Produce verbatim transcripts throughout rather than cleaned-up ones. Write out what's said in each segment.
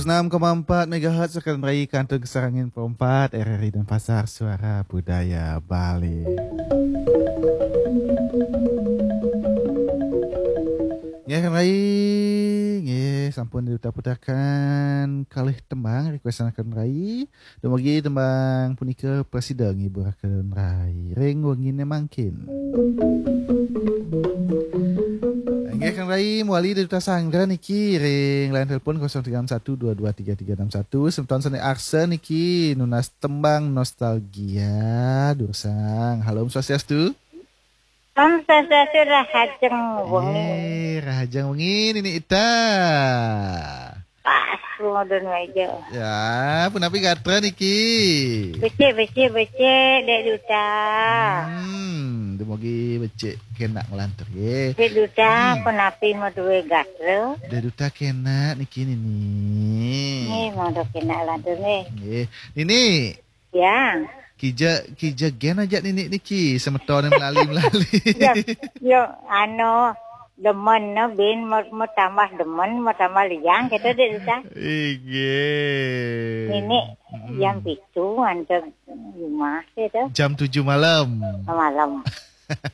Enam koma empat megahertz, Rekan Rai, Kantun Kesarangan Perempat, R R I Denpasar, Suara Budaya Bali. Nggih, Rekan Rai, nggih, sampun diputar-putarkan kalih tembang requestan Rekan Rai. Dumugi tembang punika prasida ngibur Rekan Rai ring wengine mangkin. Inggih, Kang Rai, mawali Duta Sanggra niki ring line telepon kosong tiga enam satu dua dua tiga tiga enam satu. Semeton sane arsa niki nunas tembang nostalgia, durusang. Halo, Om Swastiastu. Om Swastiastu, rahajeng wengi. Eh, rahajeng wengi, Nini Ita. Pas, modon meja. Ya, punapi gatra niki? Becik, becik, becik, Dek Duta. Hmm, dumugi becik kena nglantur, nggih. Dek Duta, hmm, punapi madue gatra? Dek Duta kena niki, Nini. Nih, mau kena lantur, nih. Nggih. Nini. Ya. Kija, kija gen aja Nini niki, semeton melali-melali. Ya, yo, anu, demen, no, bin, mau, mau tambah demen, mau tambah liang, gitu, Dek Duta. Inggih. Nini, mm-mm, jam pitu, antar rumah, gitu. Jam tujuh malam. Malam.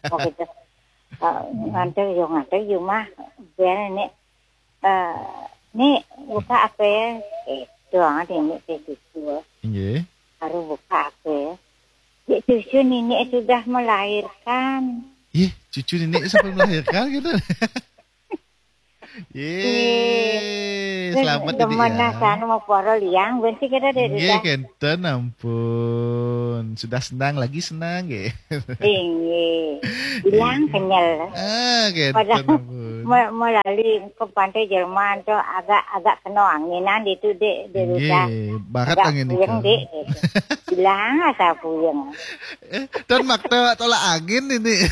Oh, gitu. Eh, ngantar, yo, ngantar rumah, biar Nini, eh, Ni, buka apa ya? Eh, doang, Nini, teh, gitu. Inggih. Baru buka apa ya? Dek, cucu Nini sudah melahirkan. Ih, cucu Nini sampai melahirkan gitu. Ye, selamat, Dek, demen ya. Nah, sana mau poro liang, benci kita, Dek, nggih, Duta. Kenten, ampun. Sudah senang lagi senang, nggih. Inggih. Bilang kenyal. Ah, kenten, padahal ampun. Me-, melali ke Pantai Jerman tuh agak, agak kena anginan itu, Dek, Dek Duta. Nggih, barat agak angin puyeng, itu. Dek, gitu. Bilang asa puyeng. Eh, dan makna tolak angin ini.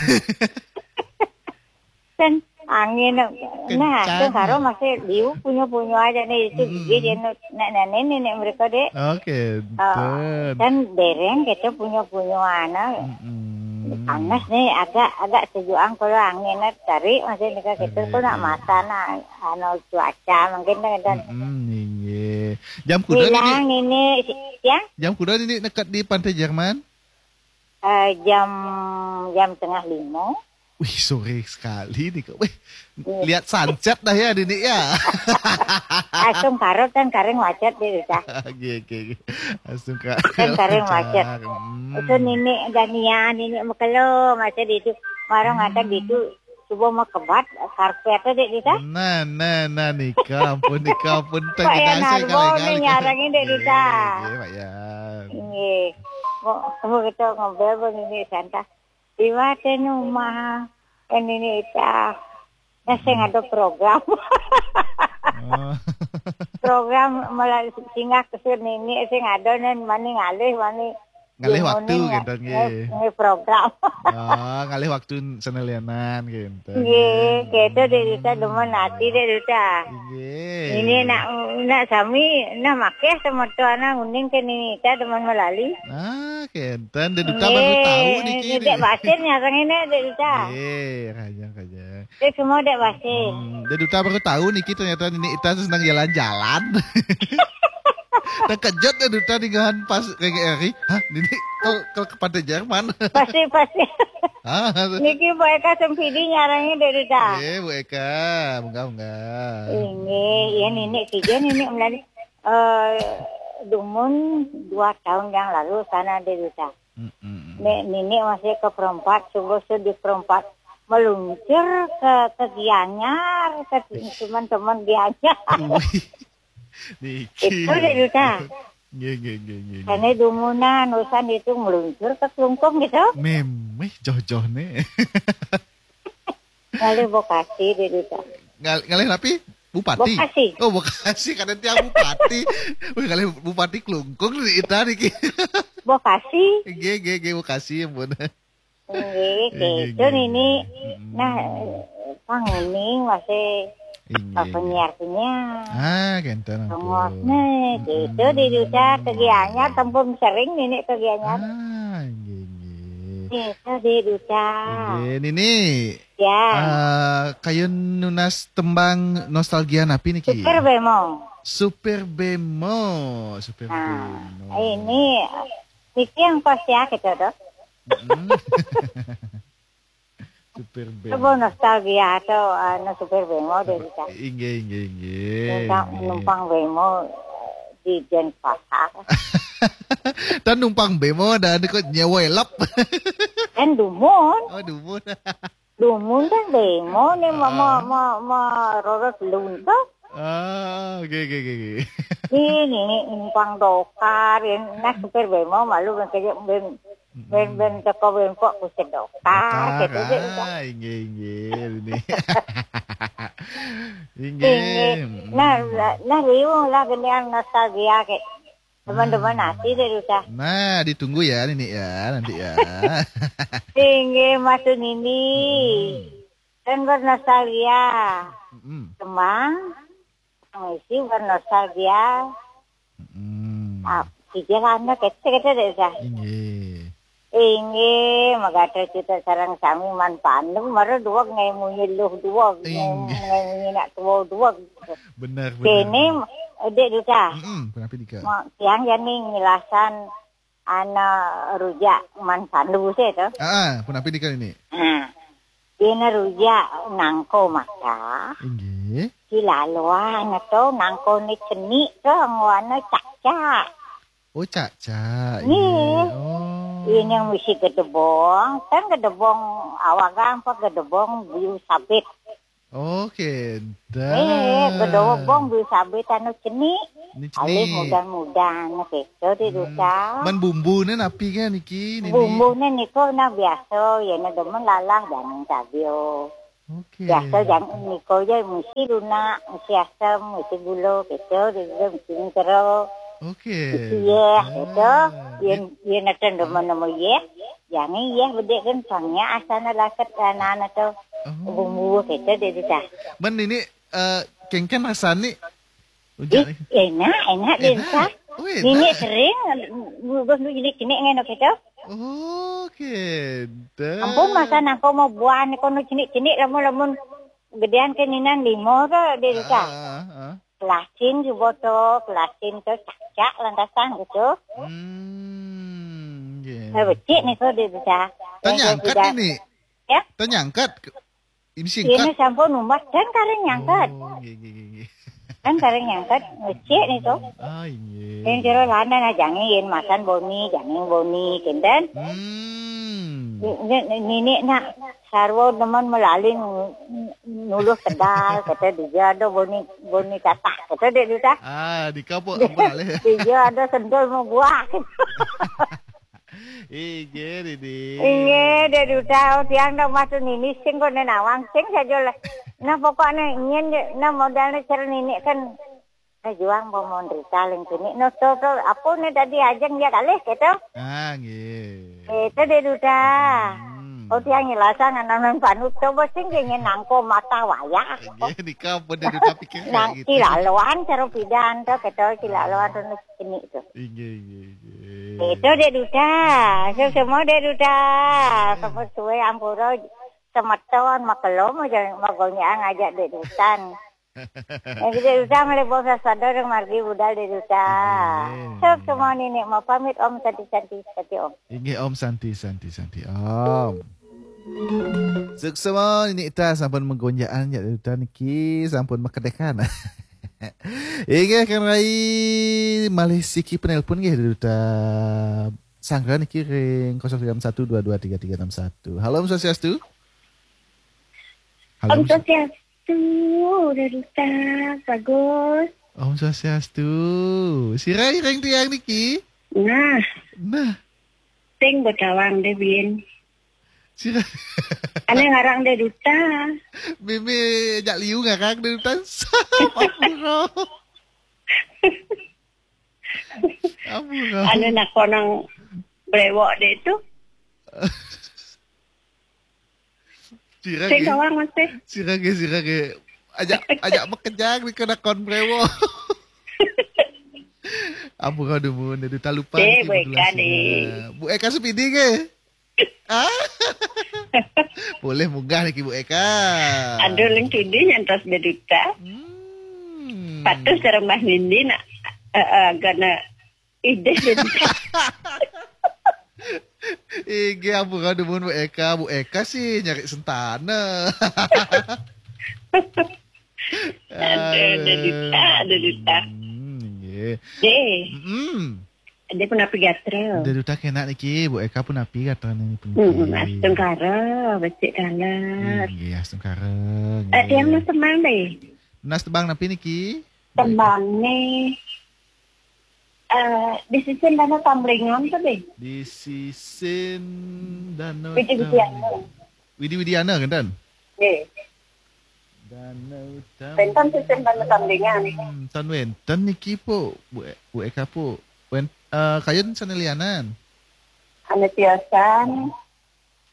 Kan angin, nah, kencang. Tuh karo masih liu punyo-punyo aja nih, itu, mm-mm, gigi dia nu-, nek, nek, nenek, nenek mereka, Dek. Oke, oh, betul. Kan dereng kita punyo-punyo anak. Mm-mm. Panas nih, agak, agak sejuang kalau angin tarik masih nih, kita, oke, kok nak, iya, mata nak, anu, cuaca mungkin kan. Mm-mm, inggih. Jam kuda Nini? Bilang ini, si-, ya? Jam kuda Nini nekat di Pantai Jerman? Eh, jam, jam tengah lima. Wih, sore sekali nih, Kak. Wih, iya, lihat sunset dah ya, Nini ya. Langsung karot kan karing macet, Dek Duta. Oke, oke, oke. Langsung ka-, kan karing macet. Hmm. Itu Nini Dania, Nini Mekelo, macet itu. Marong ada, hmm, gitu. Coba mau kebat, karpet, Dek Duta. Nah, nah, nah, nika, ampun, nika, ampun. Pak Yan Narbo nih nyarangin, Dek Duta. Iya, iya, Pak Yan. Iya. Mau, mau kita ngobrol, Nini Santa. Iwate nu mah, kan ini ita. Nah, sing ada program. Oh. Program malah singgah ke sini, sing ada nen mani ngalih, mani ngalih waktu, neng-, gitu, nggih, neng-, neng program. Oh, ngalih waktu senelianan, gitu. Nggih, gitu, Dek Duta, demen hati, Dek Duta. Nggih. Ini nak, nak sami, nah, makeh sama tuana nguning ke Nini Ita demen melali. Ah, kenten. Dek Duta baru tahu niki, nggih, niki. Dek Basir nyarang ini, Dek Duta. Nggih, raja, raja. Dek semua Dek Basir. Hmm, Dek Duta baru tahu niki ternyata Nini Ita senang jalan-jalan. Terkejut Dek Duta dengan pas kayak Eri. Hah, Nini kalau, kalau ke Pantai Jerman? Pasti, pasti. Ah, niki Bu Eka Sempidi nyarangnya, Dek Duta. Eh, Bu Eka, munggah, munggah. Ini, ya, Nini, tiga Nini melali. Eh, dumun dua tahun yang lalu sana, Dek Duta. Mm-mm. Ne-, Nini masih ke Perempat, subuh sudah di Perempat. Meluncur ke, ke Gianyar, ke teman-teman Gianyar. Wih. Niki. Itu, Dek Duta. Nggih, nggih, nggih, nggih, nggih. Karena dumunan, urusan itu meluncur ke Klungkung gitu. Memeh joh-joh nih. Ngalih Bokasi, Dek Duta. Ngal-, ngalih napi? Bupati? Bokasi. Oh, Bokasi, kadang tiang bupati. Wih, ngalih Bupati Klungkung nih, Ita niki. Bokasi. Nggih, nggih, nggih, Bokasi, ampun. Nggih, nggih, gitu, nggih, Nini. Mm-mm. Nah, panguning masih, inggih, apa, nggih, penyiar-penyiar. Ah, kenten, ampun. Pengos nih, gitu, mm-mm, di Duta ke Gianyar, tempun sering Nini ke Gianyar. Ah, nggih, nggih. Nggih, Dek Duta. Inggih, Nini. Ya. Eh, kayun nunas tembang nostalgia napi niki? Super Bemo. Super Bemo, Super Nah, Bemo. Ini, niki yang pas ya kita tuh. Mm-mm. Super Bemo. Coba nostalgia atau, anu, Super Bemo, Dek Duta. Inggih, inggih, inggih, Numpang, inggih. Numpang bemo, eh, di Denpasar. Dan numpang bemo dan kok nyewa elap. Kan dumun. Oh, dumun. Dumun kan bemo nih, mau, mau, Ah. Mau, mau roros lunto. Ah, oke, oke, oke, oke. Ini, ini numpang dokar, ini nah, supir bemo malu kan kerja ben, ben, Mm-mm. Ben teko ben pok ku sedokar, Dokar, gitu, gitu. Ah, inggih, inggih, ini. Inggih. Inggih. Mm-mm. Nah, nah, nah, riung lah genian nostalgia ke. Teman-teman Ah. Nasi deh, Duta. Nah, ditunggu ya, Nini ya, nanti ya. Inggih, Mas Nini. Mm-mm. Kan bernostalgia. Mm-mm. Tembang, misi bernostalgia. Mm-mm. Ah, pikirannya kece-kece deh, Duta. Inggih. Inggih, magatra cita sareng sami man pandu, mara dua ngai munyi luh dua, ngai, Inggih. Ngai munyi nak tua dua. Benar, benar, Kene, benar. Dek Duta. Mm-mm, punapi nika? Ma-, tiang jani ngelasan ana rujak man pandu sih tu. Ah, ah, punapi nika ini? Hmm. Dina rujak nangko mata. Inggih. Silaloan tu nangko ni cenik tu ngwana cakcak. Oh, cakcak. Nggih. Iya. Oh. Ini yang mesti gedebong, kan gedebong awagang apa gedebong biu sabit. Oh, kedah. Eh, gedebong biu sabit anu cenik. Ni cenik. Alih mudah-mudahan gitu di Hmm. Duta. Man bumbu ni napi kan niki, Nini? Bumbu ni niko nah biasa, ya na demen lalah jangan sabio. Okey. Biasa jam niko je mesti lunak, mesti asam, mesti gula, gitu, dia juga mesti jeruk. Okey. Mesti yeh, gitu. Ah, Yen, yen ada nama-nama yeh, jangan yeh bedek kan, pangnya asana lakat anak-anak tu. Oh. Bumbu, gitu, dia dah. Man ini, eh, kengken rasa ni. Rujak ni. Ih, enak, enak dia Enak? Rasa. Oh, enak. Nini sering, bubus tu jenik-jenik kan, gitu. Oh, kedah. Ampun, masa nangko mau buah ni kono cenik-cenik lamun-lamun gedean ke ninan limo tu dia Rasa. Ah, ah, ah. Kelasin juga tu, kelasin tu cakcak lantasan gitu. Hmm, okey. Eh, becik ni tu dia Rasa. Tanya Yang angkat sudah ini. Ya? Tanya angkat. Ini singkat. Ini sampun umbat kan kareng nyangkat. Oh, nggih, nggih, nggih, nggih. Kan kareng nyangkat, ngecek ni tu. Ah, inggih. Yang kira lanang aja ngi, yen makan boni, jangan boni, kinten. Hmm. Ni, ni, ni, ni nak sarwa demen melaling nuluh kedal, kata dia ada boni, boni tatah, kata dia tu tah. Ah, di kapuk, kapuk alih. Dia ada sendal mau buah. Inggih, Didi. Inggih, Dek Duta, tiang dah masuk nini sing kok nen awang sing saja lah. Nah, pokoknya ingin je, nah modalnya cara nini kan, nah, juang mau menderita ling sini. No, to, to, apa ni tadi ajeng dia kalih, gitu. Ah, nggih. Itu, Dek Duta. Hmm. Oh, tiang ngilasan anak-anak panut, coba sing dia ingin nangko mata wayah. Nggih, nika pun Dek Duta pikir kayak Nang gitu. Kilaluan, cara pidan tu, gitu, kilaluan tu, ini tu. Inggih, inggih, inggih. Itu Dek Duta. So, semua Dek Duta. Hmm. Semua suwe ampura semeton, makelom aja, magonyang aja Dek Dutan. Yang Dek Duta melebur sasada dengan margi budal Dek Duta. Inggih. So, semua nini mau pamit, Om Santi, Santi, Santi, Om. Inggih, Om Santi, Santi, Santi, Om. Suksma nini ita sampun menggonjaan ya Dek Duta niki sampun makedekan. Inggih, kan rai malih siki penelpon nggih Dek Duta. Sanggra niki ring kosong tiga enam satu dua dua tiga tiga enam satu. Halo, Om Swastiastu. Halo, Om Om Swa- Swastiastu, Dek Duta, bagus. Om Swastiastu. Sira ring tiang niki? Nah. Nah. Sing betawang deh, Bin. Sira. Ane ngarang Dek Duta. Meme jak liu ngarang Dek Duta. Ampura. Ampura. Ane nak konang brewok deh tu. Sira Sing ke. Kawang masih. Sira ke, sira ke. Ajak, ajak makejang ni kena kon brewok. Ampura dumun, Dek Duta lupa. Eh, niki Bu Eka ni. Bu Eka Supidi ke? Ah. Boleh munggah niki Bu Eka. Aduh, leng tudi nyantos Daduta. Hmm. Patus sareng Mbah Nindi nak eh, eh, gana idih Daduta. Inggih ampun dumun Bu Eka, Bu Eka sih nyari sentana. Aduh, Daduta, Daduta. Hmm, nggih. Deh, Hmm. dia punapi gatra. Daduta kenak niki, Bu Eka punapi gatra niki. Hmm, astungkara, becik dalat. Nggih, astungkara. Eh, tiang mas tembang deh. Nas tembang napi niki? Tembang nih. Eh, di sisi mana tamblingan tuh deh. Di sisin danau. Widi Widiana. Widi Widiana kan? Nggih. Danau Wénten sisin danau tamblingan. Hmm, ten wénten niki pu, Bu, Bu Eka pu. Wen, eh, kayun sané lianan. Anu tiosan.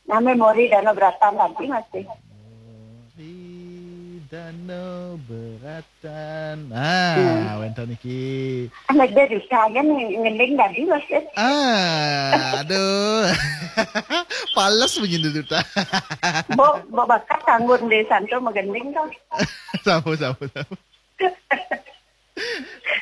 Nah, memori danau beratan tadi masih. Di danau beratan. Ah, wénten niki. Anak dia bisa aja nih ngeling tadi masih. Ah, aduh. Pales begini tuh ta. Bo, bo bakat kanggo di santo magending tuh. Sampun, sampun, sampun.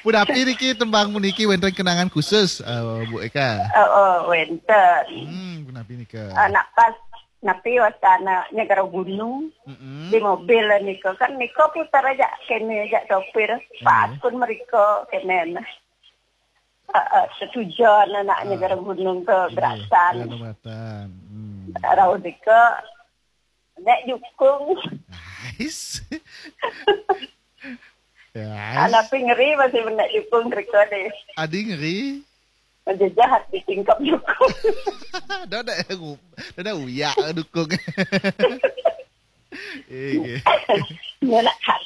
Punapi niki tembang puniki wénten kenangan khusus, eh, Bu Eka. Oh, oh, wénten. Hmm, punapi nika. Anak pas napi wastana nyegara gunung Mm-mm. di mobil nika kan nika putar aja kene aja sopir pas pun mereka kene uh, uh, setujuan anak nyegara gunung ke Iya, Gerasan Gerasan Beratan. Hmm. rauh nika nek jukung Nice. Ya. anak pi ngeri masih menek jukung mereka deh Adi ngeri. menjejah hati tingkap jukung Dah dah dah dah uyak dukung. Eh, dia nak hard